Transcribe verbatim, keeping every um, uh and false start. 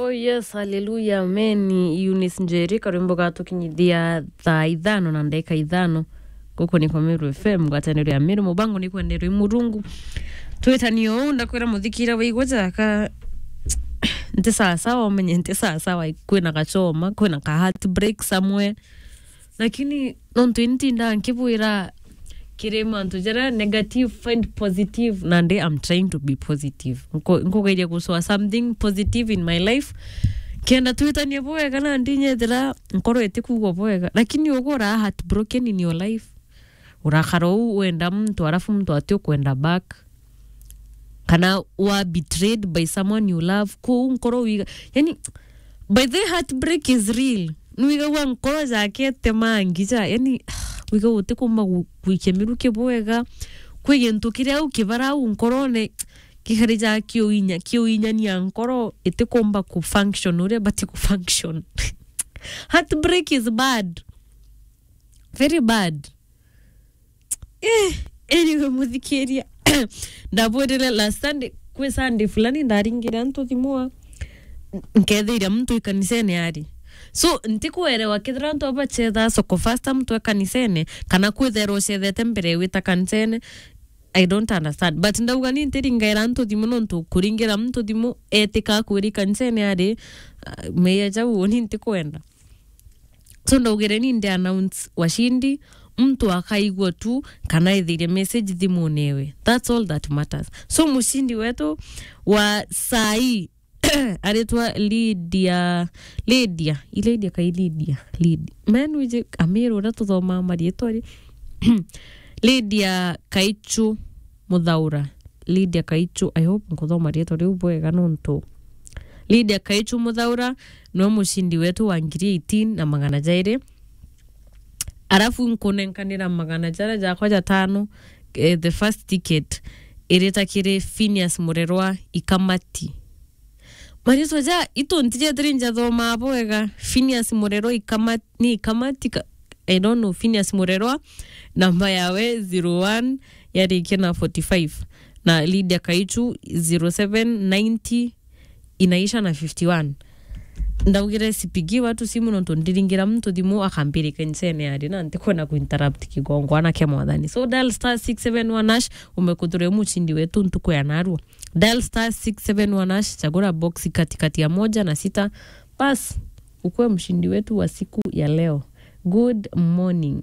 Oh yes, hallelujah, amen. Eunice Njeri, karwimbo gatukinyithia thaa ithano na ndagika ithano. Guku ni kwa Meru F M, ngwataniro ya Meru, mubango ni kwenderwa i Murungu. Twitanie uu, ndakwira muthikira waigua jaka, nti sawa sawa, umenye nti sawa sawa, kwina gachoma, kwina ka heartbreak somewhere. Lakini nontu intindaa nkibwira kiri mantu jaria negative, find positive, nandi I'm trying to be positive. Nko-, nkugeria gucoa something positive in my life. Kenda twitanie bwega, nandi nyethira nkoro itikuigua bwega. Lakini ugu ura heartbroken in your life. Urakara uu wenda muntu, alafu muntu ati ukwenda back. Kana wa betrayed by someone you love. Kuu nkoro wiga, yani, by the heartbreak is real. Nwigagua nkoro jake temangi ja, yani, wiga utikumba gu-, gwikia miruki bwega. Kwi gintu kiria u kibara u nkorone, gikari ja kiuinya, kiuinyania nkoro itikumba ku function uria bati ku function. Heartbreak is bad. Very bad. Eh, anyway, muthikiria. Ndabwirire last Sunday, kwi Sunday fulani ndaringire antu thimu a, nkethiria muntu ikanisene ari. So, ntikuerewa kethira antu abachetha soko fasta muntu ekanisene, kana kwithera ucethete mbere wita kanisene. I don't understand. But ndauga ni ntiringaira antu thimu nontu kuringira muntu thimu etika kwiri kanisene ari, uh, meya jau ni ntikwenda. So ndaugire ni ndi announce washindi, muntu akaigua tu kana ethirie message thimune ewe. That's all that matters. So mushindi wetu wa saa hii aritwa Lydia, Lydia, i Lydia kai Lydia, Lydia. Man wije Amiru uria tuthomaa marietwa ri. Lydia Kaichu Muthaura. Lydia Kaichu, I hope nkuthoma rietwa riu bwega nontu. Lydia Kaichu Muthaura niwe mushindi wetu wa ngiri eighteen na magana jairi. Alafu nkunenkanira magana jaria jakwa jatano, eh, the first ticket irita kiri Phineas Murerwa Ikamati. Maritwa ja itu ntijethiri njathomaa bwega. Phineas Murerwa Ikamati, ni Ikamati ka, I don't know, Phineas Murerwa, namba yawe zero one yarikia na forty-five, na Lydia Kaichu zero seven ninety inaisha na fifty-one. Ndaugire sipigi watu simu nontu ndiringira muntu thimu akambiri kanisene ari na ntikwenda kuinterrupt kigongwana kia Mwathani. So dial star six seven one hash umekuthura mushindi wetu ntuku ya narua. Dial star six seven one hash, chagura box katikati ya moja na sita. Bas, ukue mshindi wetu wa siku ya leo. Good morning.